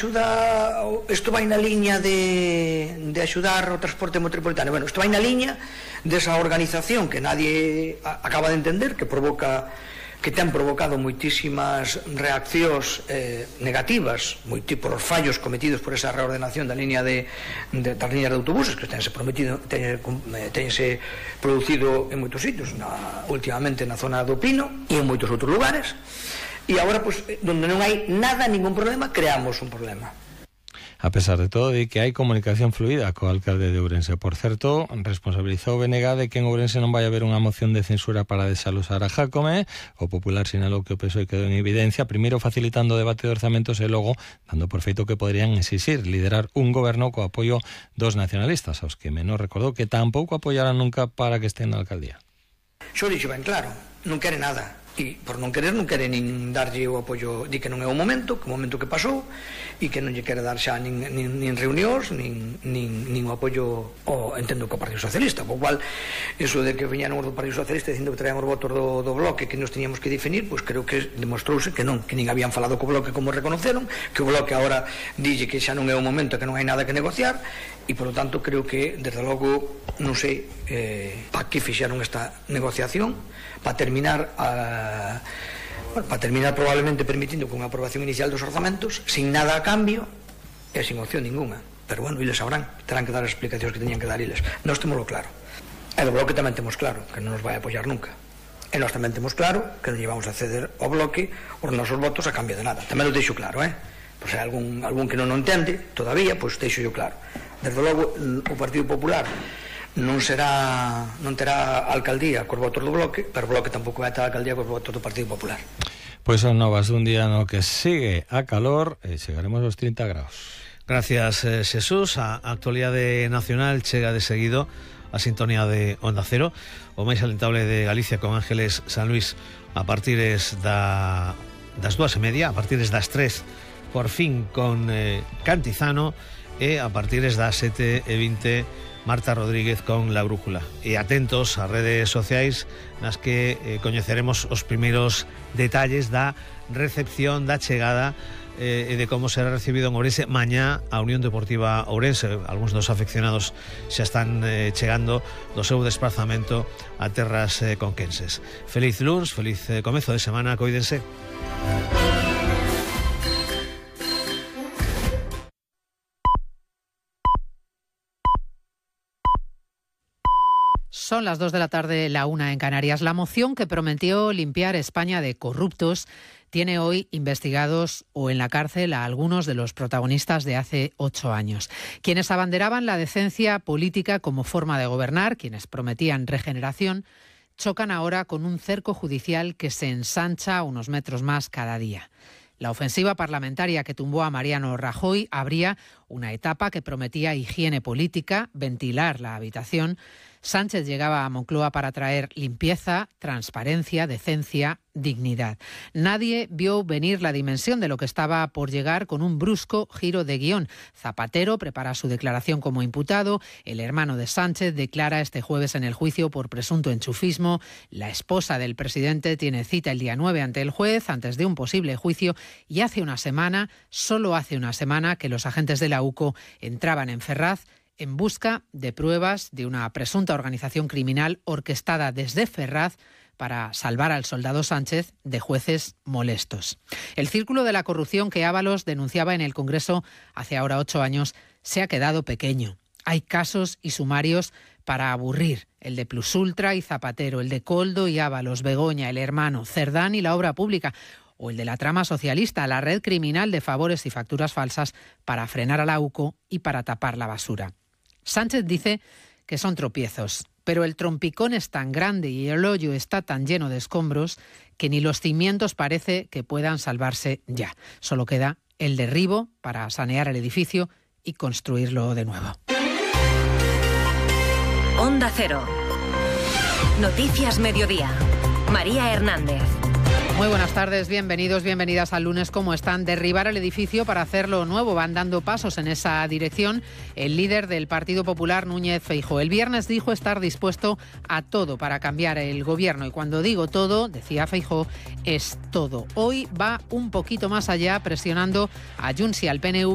Isto vai na liña de axudar o transporte metropolitano. Bueno, isto vai na liña desa organización que nadie acaba de entender, que ten provocado moitísimas reaccións negativas por os fallos cometidos por esa reordenación das líneas de autobuses que tense producido en moitos sitios, últimamente na zona do Pino e en moitos outros lugares. E agora, pois, donde non hai nada, ningún problema, creamos un problema. A pesar de todo, di que hai comunicación fluida co alcalde de Ourense. Por certo, responsabilizou BNG de que en Ourense non vai haber unha moción de censura para desalosar a Jácome. O Popular sinalou que o PSOE quedou en evidencia, primeiro facilitando o debate de orzamentos e logo dando por feito que poderían exixir liderar un goberno co apoio dos nacionalistas, aos que menos recordou que tampouco apoiarán nunca para que estén na alcaldía. Xo dixo ben claro, non quere nada. E por non quere nin darlle o apoio, di que non é o momento que pasou, e que non lle quere dar xa nin reunións, nin o apoio, entendo, co Partido Socialista, po cual, eso de que viñeron os do Partido Socialista dicindo que traían os votos do Bloque que nos teníamos que definir, pois creo que demostrouse que non, que nin habían falado co Bloque como reconoceron, que o Bloque agora dille que xa non é o momento, que non hai nada que negociar, e polo tanto creo que, desde logo, non sei para que fixeron esta negociación, para terminar probablemente permitindo con a aprobación inicial dos orzamentos sin nada a cambio e sin opción ninguna, pero bueno, eles sabrán, terán que dar as explicacións que teñan que dar eles. Nós temoslo claro, e do Bloque tamén temos claro que non nos vai apoiar nunca, e nós tamén temos claro que non llevamos a ceder ao Bloque os nosos votos a cambio de nada, tamén o deixo claro, pois hai algún que non o entende todavía, pois deixo yo claro. Desde logo o Partido Popular non terá alcaldía cos votos do Bloque, pero o Bloque tampouco vai ter alcaldía cos votos do Partido Popular. Pois son novas dun día no que sigue a calor e chegaremos aos 30 graus. Gracias, Xesús. A actualidade nacional chega de seguido a sintonía de Onda Cero, o máis alentable de Galicia, con Ángeles San Luis a partires das 2:30, a partires das 3 por fin con Cantizano, e a partires das 7:20 Marta Rodríguez con La Brújula. E atentos ás redes sociais nas que coñeceremos os primeiros detalles da recepción, da chegada e de como será recibido en Ourense mañá a Unión Deportiva Ourense. Algúns dos afeccionados xa están chegando do seu desplazamento a terras conquenses. Feliz luns, feliz comezo de semana, coídense. Son las 2 de la tarde, la 1 en Canarias. La moción que prometió limpiar España de corruptos tiene hoy investigados o en la cárcel a algunos de los protagonistas de hace 8 años. Quienes abanderaban la decencia política como forma de gobernar, quienes prometían regeneración, chocan ahora con un cerco judicial que se ensancha unos metros más cada día. La ofensiva parlamentaria que tumbó a Mariano Rajoy abría una etapa que prometía higiene política, ventilar la habitación. Sánchez llegaba a Moncloa para traer limpieza, transparencia, decencia, dignidad. Nadie vio venir la dimensión de lo que estaba por llegar con un brusco giro de guión. Zapatero prepara su declaración como imputado, el hermano de Sánchez declara este jueves en el juicio por presunto enchufismo, la esposa del presidente tiene cita el día 9 ante el juez antes de un posible juicio y solo hace una semana que los agentes de la UCO entraban en Ferraz en busca de pruebas de una presunta organización criminal orquestada desde Ferraz para salvar al soldado Sánchez de jueces molestos. El círculo de la corrupción que Ábalos denunciaba en el Congreso hace ahora 8 años se ha quedado pequeño. Hay casos y sumarios para aburrir, el de Plusultra y Zapatero, el de Coldo y Ábalos, Begoña, el hermano, Cerdán y la obra pública, o el de la trama socialista, la red criminal de favores y facturas falsas para frenar a la UCO y para tapar la basura. Sánchez dice que son tropiezos, pero el trompicón es tan grande y el hoyo está tan lleno de escombros que ni los cimientos parece que puedan salvarse ya. Solo queda el derribo para sanear el edificio y construirlo de nuevo. Onda Cero. Noticias Mediodía. María Hernández. Muy buenas tardes, bienvenidos, bienvenidas al lunes. ¿Cómo están? Derribar el edificio para hacerlo nuevo. Van dando pasos en esa dirección el líder del Partido Popular, Núñez Feijóo. El viernes dijo estar dispuesto a todo para cambiar el gobierno. Y cuando digo todo, decía Feijóo, es todo. Hoy va un poquito más allá, presionando a Junts y al PNV